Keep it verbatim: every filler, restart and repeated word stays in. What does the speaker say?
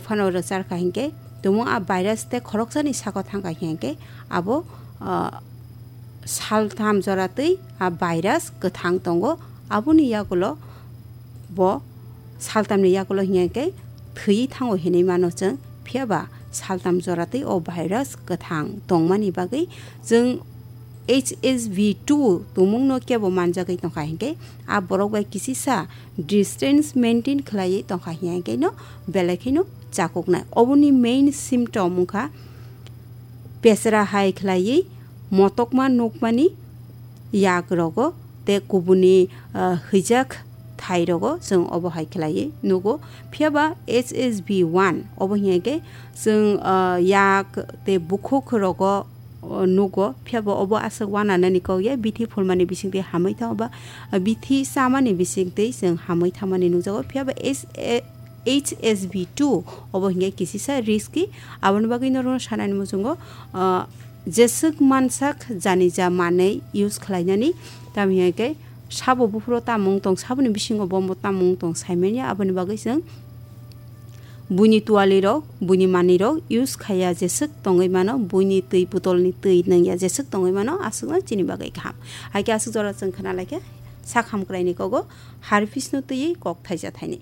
phano rwchar kha hinkhe, tumung a virus tei khoroksani saka thang kha hinkhe abo, ah, saltham jora twi a virus kwthang tongo. Aboni yagulo bo saltamni yagulo hinkhe thwi thango hinwi mano chwng. Phiya ba saltam jora twi o virus kwthang tongmani bagwi chwng H S V two tumungno kebo manjagwi tongkha hinkhe, a borok bai kisisa distance maintain khlaiwi tongkha hinkhe no belai kheno chakuknai. Oboni main symptom wngkha pesra hai khlaiwi motokma nukmani yak rogo tei kubuni, ah, hwijak thai rogo chwng obo hai khlaiwi nugo. Phiya ba H S V one obo hinkhe chwng, ah, yak tei bukhuk rogo o, nugo, phiya bo obo aswk uananani kok ya, bithi phulmani bisingtwi hamwi thango ba, a, bithi chamani bisingtwi chwng hamwi thangmani nukjago, phiya bo S-, e-, H S V two obo hinkhe kisisa risky. Aboni bagwi norokno sanani muchungo, a, jeswk mansak jani ja manwi use khlainani, tamni hinkhe sabo buphuro tamung tong, saboni bisingo bombo tamung tong saimanya, aboni bagwi chwng buini tualirok, buini manwirok use khaiya jeswk tongwi mano, buini twi botolni twi nungya jeswk tongwi mano, aswkno chini bagwi kaham. Hai khe aswk jora chwng khna lai khe sak hamkraini kogo harphisno twiwi kok thaija thaini.